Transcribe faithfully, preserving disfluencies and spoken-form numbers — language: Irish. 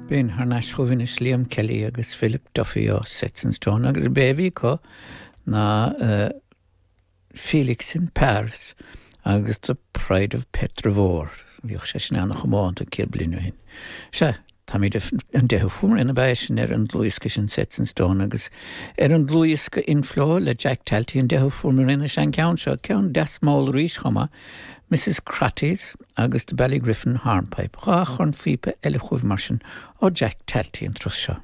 B'in thar n-ais chugaibh anois Liam Kelly agus Philip Duffy ó Sets and Stone agus b'é a bhí acu ná uh, Felix in Paris agus The Pride of Petravore. Bhíodh sé sin an-chomónta céad bliain ó shin. Sea, Táimid an deichiú fuaimrian ab ea sin ar an dlúthdhiosca sin Sets and Stone agus ar an dlúthdhiosca Inflow le Jack Talty an deichiú fuaimrian is an ceann seo ceann deas mall arís chomh maith, Mrs Crotty's agus the Ballygriffin Hornpipe, dhá chornphíopa eile chugaibh mar sin ó Jack Talty an turas seo.